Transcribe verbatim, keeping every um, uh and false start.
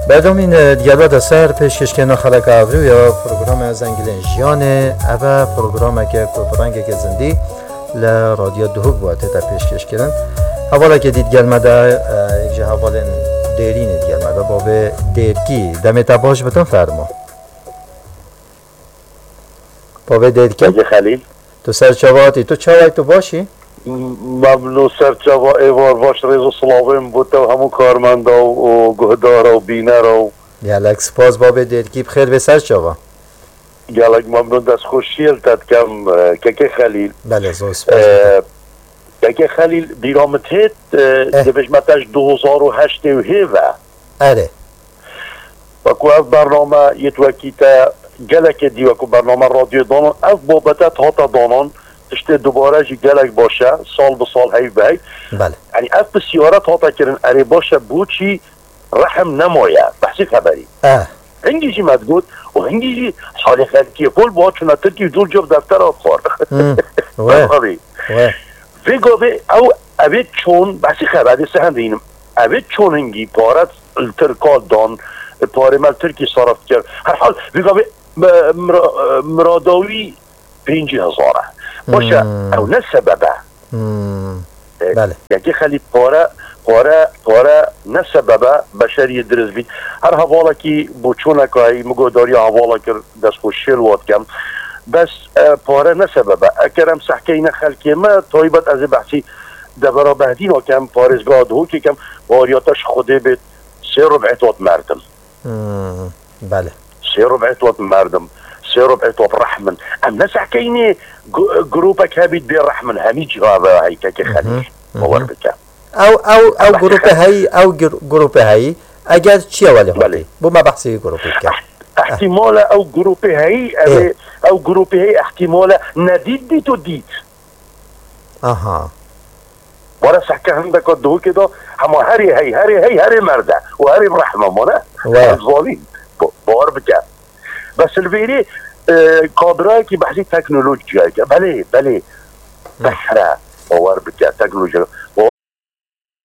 Berdomîn, e, digel we de ser pêşkêşkirina xeleka evrû ya programa Zengilên Jiyanê. Ev e programeke ku bi rengeke zindî li Radyo Duhok ve tête pêşkêşkirin. Hevaleke dî digel me de, e, yek ji hevalên dêrînê digel me de, Babê Dêrkî. Demê te baş bitin, fermo. Babê Dêrkî. Hacî Xelîl. Tu ser çava hatî, tu çawa yî, tu baş î? Memnûn, ser çava, êvar baş, rêz û silavên bo te û hemû karmenda û, û guhdara û bînera û Gelek spas babê Dêrkî, bi xêr bê, ser çava. Gelek memnûn, destxweşiyê li te dikem, e, kekê Xelîl. Belê, zor spas. E, kekê Xelîl, bîra min têt, e, Eh. dibêjme te ji du hezar û heştê û hê ve. Erê. Wekî ev bername yê tu wekî te gelekê dî, wekî bername radyoyê danan, ev babete hate danan, tiştê dubare jî gelek baş e, sal bi sal hey bi hey. Belê. Yanî ev pisyare hate kirin, erê baş e, boçî rehm nemaye, behsî xeberî. Eh. Hingî jî me digot, û hingî jî salê xelkê pol ba çûna Tirkî û dûr cov deftera xwar. Hmm. We. Tabii. We. Vê gavê ew, evê çon, behsî xeberê se hem dînim. Evê çon hingî pare li Tirka dan, parê me li Tirkî sarf dikir. Herhal, vê gavê, e, mira-, e, miradawî pêncî hezar e. Baş e, Hmm. ew ne sebeb e. Hmm. E, Belê. Yekê Xelî pare, pare, pare ne sebeb e, beşeriyê dirist bît. Her hevalekî bo çoneka heyî, min guhdariya hevala kir, destxweşiyê li we dikem. Bes, e, pare ne sebeb e. Eker em sehkeyne xelkê me, taybet ez ê behsî devera Behdîna kem, parêzgeha Duhokê kem, baweriya te ji Xwedê bêt, sê rub'ê tot merdim. Hmm, belê. Sê rub'ê tot merdim, sê rub'ê tot rehm in. Em ne sehkeynê gu-, grûpek hebît bê rehm in, hemî cîha ve heyî kekê Xelîl. Mhm, mhm. Bawer bike. Ew, ew, ew Em grûpê heyî, ew gr-, grûpê heyî, eger çi ye welê Belê. Hotî? Bo me behsê wî grûpê bike. Eh, ihtimale ew grûpê heyî, ev Ê. ê, ew grûpê heyî ihtimale nedît dît û dît. Aha. Were sehke hindeka Duhokê de hema herê hey, herê hey, herê merde û herê bi rehme mane. We. Ez zanîn. Bo-, bawer bike. Bes li vêrê, e, kadrayekî behsî teknolojiyayê dike. Belê, belê. Hı. Behre. Bawer bike. Teknolojiya. Ba,